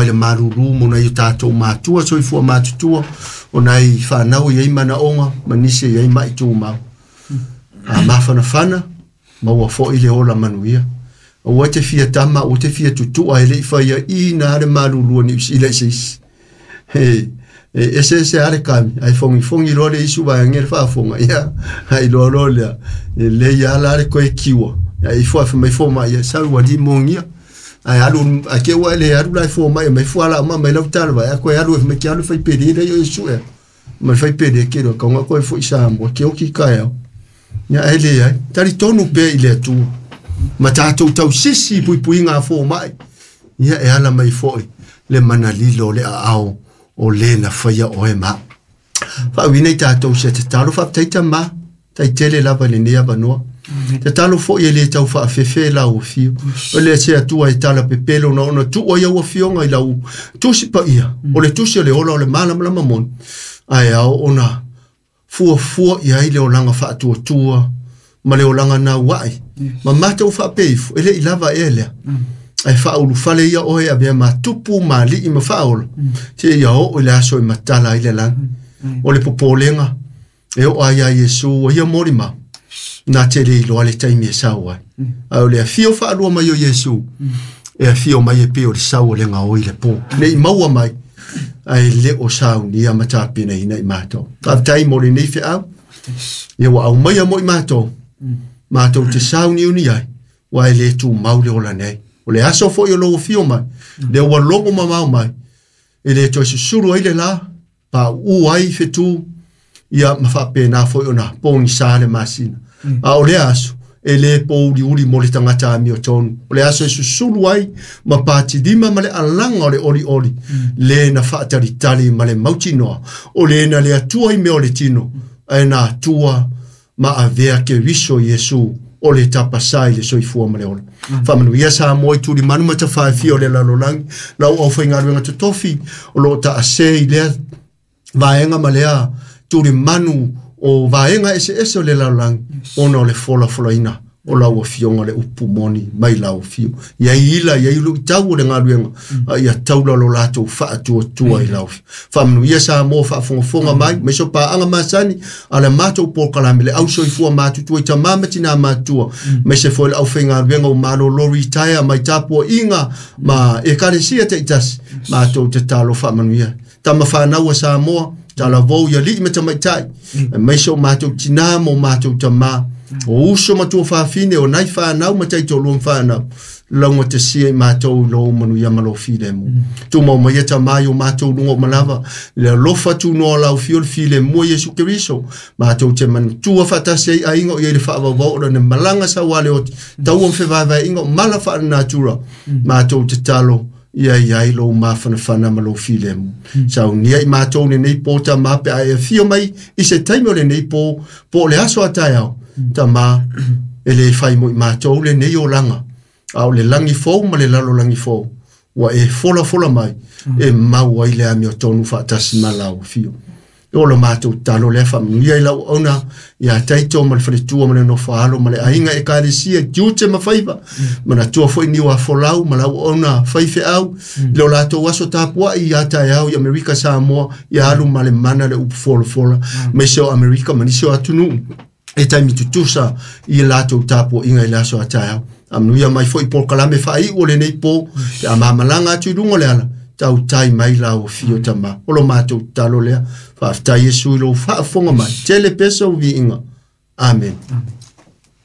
mai le malulu mo nai o tatou matua soifua matutua o nai whanau i ei manaonga ma nisi i ei mai tūmau. A mafanafana maua fo'i le ola manuia. Aua te fia tama, aua te fia tutua e le i whaia i nā le malulu ni usila i seisi. E ese ese ale kami, ai fongi fongi loa le isu vaega le faafoga, ia, ai loa loa lea, e lei ala le koe kiwa. Ia ifo afe mai fo mai, ia sau ua li mongia. Ai alu, a ke ua le alu lai fo mai, mai fo ala ma mai lau tala vai, a koe alu e mai ke alu fai pere le yo isu e. Mai fai pere ke ro, kaunga koe fo i Samoa, ke oki kai au. Ia e le ai, tari tonu pe i le atua. Ma tātou tau sisi pui pui ngā fo mai. Ia e ala mai foi le mana lilo le ao o le na whaia o e ma. Whaawina i tātou se te talo whaptaita ma, tai tele lava le nea vanoa. Te talo foi e le tau whaafefe lau o whio. O le se atua e tala pepelo na ona tua ia ua whionga i lau tusi pa ia. O le tusi o le ola o le malamalama moni. Ai ao ona fua fua ia i le olanga whaatua tua ma le olanga nā wai. Ma mātou whaapeifu, e le i lava e lea. Ai whaulufale ia oe a mea matupu ma lii ma whaola. Te ia o i le aso i matala i le langi. O le popolenga, e o ai a Iesu, o ia mori ma. Nā te le iloa le taimi e sau ai. Ai o le awhio whaalua mai o Iesu, e awhio mai e pe o le sau o le ngā oi le pō. Ne i maua mai, ai le o sau ni a matapina ina i mātou. Ka tai mo le nei wheau, ia wa au mai a mo i mātou. Mātou te sau ni uni ai, wa e le tū maule o la nei. O le aso foi o lou fio mai, le ua logo mamao mai, e le toe susuru ai le la, pa u ai whetū, ia ma whaapena foi ona pōni sa le masina. A o le aso, e le pō uli uli mo le tangata ami o tonu. O le aso e susulu ai, ma pātirima ma le alanga o le oli oli, le na whaatalitali ma le mautinoa, o le na le atua i mea o le tino, e na atua ma avea ke riso Iesu, o le tapasai le soifua ma le ola. Whamanu ia sa moi turi manu mata whaewhia o le lalolangi, lau au whaingaruenga te tofi, o lo ta ase i lea vaenga ma lea turi manu o vaenga ese ese o le lalolangi, ona o le fola folaina, o lau afionga le upu moni mai lau afio. Ia ila, ia ilu i tau o le ngaluenga, a ia taula lo lātou whaatua tua i lau afio. Whamanu ia sa mō whaafongafonga mai, mai so pāanga masani, a le mātou pōkalame, le au soifua mātutua i ta mamati nā mātua, mai se foi le au whaingaluenga o malo lori taia, mai tāpua inga, ma e karesia te itasi, mātou te talo whamanu ia. Tama whānaua sa mō, tala vau ia lii me tamaitai, mai so mātou tina mō mātou tamā, o uso matua whawhine o nai whānau ma tai tō luang whānau launga te sia i mātou lo manu ia malo file mu. Tū mau mai eta mai o mātou lunga o malava le alofa tū noa lau fio le file mua Iesu Keriso mātou te manu tua whatase ai ainga o ia le whaavavao o ne malanga sa wale o tau am whewaiwai inga o mala wha natura mātou te talo ia ia i lo mafanafana ma lo file mu. Sau nia i mātou le nei pō ta mape a e fio mai i se taimi o le nei pō pō le aso a tai au. Ta ma e le whai mo i mātou le nei o langa. A o le langi fōu ma le lalo langi fōu. Ua e fola fola mai e mau ai le ami o tonu whaatasi ma lau fio. O lo mātou talo lea whamuia i lau ona ia taito ma le whaletua ma le nofo ma le ainga e karesia tiute ma whaiva. Mana tua foi niwa folau ma lau ona whaiwhe au. Le o lātou aso tāpua i atai au i Amerika Samoa i alu ma le mana le upu fola fola. Me se o Amerika ma nisi o atunu. E taimi tutusa i lātou tāpua inga i le aso atai au. Amnuia mai foi pō kalame whai o le nei pō. Pe a mamalanga atu i runga le ala. Tau tai mai lau o fio tama. O lo mātou talo lea. Whaaftai Yesu i lo whaafonga mai. Tele pesa o viinga. Amen. Amen.